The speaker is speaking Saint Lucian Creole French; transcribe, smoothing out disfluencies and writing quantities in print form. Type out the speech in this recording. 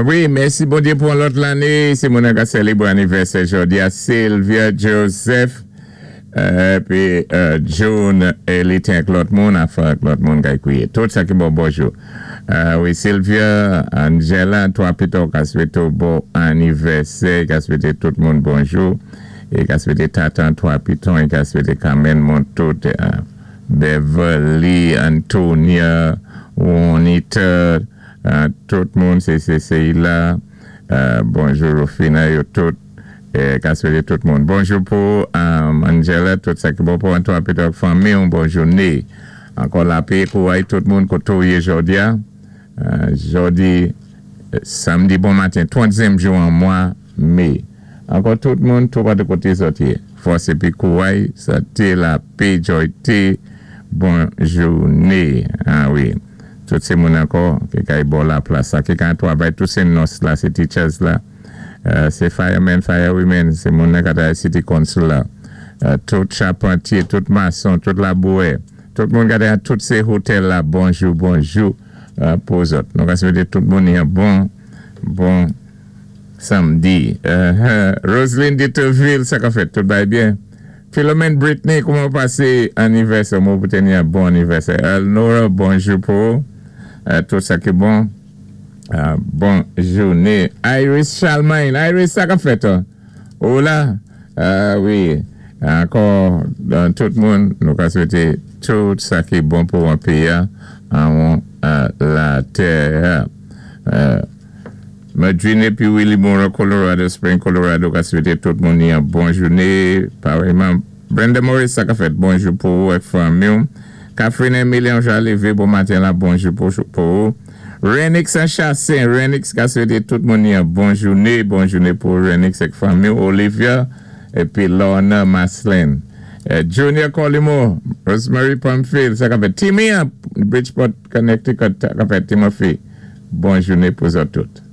Wi, mèsi Bondyé pou yon lòt lanné. Sé moun an ka sèlébré anivèsè jòdi a, Sylvia Joseph, épi June Elitin ak lòt moun, afè ak lòt moun kay kwiyé. Tout sa ki bon, bonjou. Wi, Sylvia, Angela, 3 pito ka swété w bon anivèsè, ka swété tout moun bonjou, é ka swété Tatan 3 Piton, é ka swété Carmen moun tout, Beverly, Antonia, Juanita, tout moun, sé Cécile, bonjou Rufina, yo tout, ka swété tout moun. Bonjou pou Angela, tout sa ki bon pou an 3 Piton ak fanmi w, bon jouné. Ankò lapé, kouray tout moun koté w yé jòdi a. Jòdi, samdi bon maten, 30zièm jou an mwa mé. Ankò tout moun toupatou koté zòt yé. Fòs épi kouray, santé, lapé, jòyté, bon jouné. A wi, tout sé moun ankò ki kay bò laplas la, ki ka twavay, tout sé nòs la, sé teachers la, sé firemen, firewomen, sé moun nan ka travay city council la, tout chapantyé, tout mason, tout labourè, tout moun ka travay tout sé hotel la, bonjou, bonjou pou zòt. Nou ka swété tout moun yon bon, bon samdi. Roseline Deterville, sa ka fèt? Tout bagay byen? Philomène Britney, kouman ou pasé anivèsè? Mwen pou teni yon bon anivèsè. Elnora, bonjou pou ou. Tout sa ki bon. Bon jouné. Iris Charlemagne, Iris, sa ka fèt? Ou la? Wi. Ankò, tout moun, nou ka swété tout sa ki bon pou an péyi a, an latè. Medrine épi Willy Moore, Colorado Springs, Colorado, ka swété tout moun yon bon jouné. Parèyman, Brenda Morris, sa ka fèt? Bonjou pou ou ak fanmi w. Catherine Emilien Jalivé, bon maten la, bonjou pou ou. Renix an Chassin, Renix ka swété tout moun yon bon jouné, bon jouné pou Renix ak fanmi w, Olivia épi Lorna Maslin. Junior Colimo, Rosemary Pamphile, sa ka fèt? Timmy an Bridgeport, Connecticut, sa ka fèt, Timothy? Bon jouné pou zòt tout.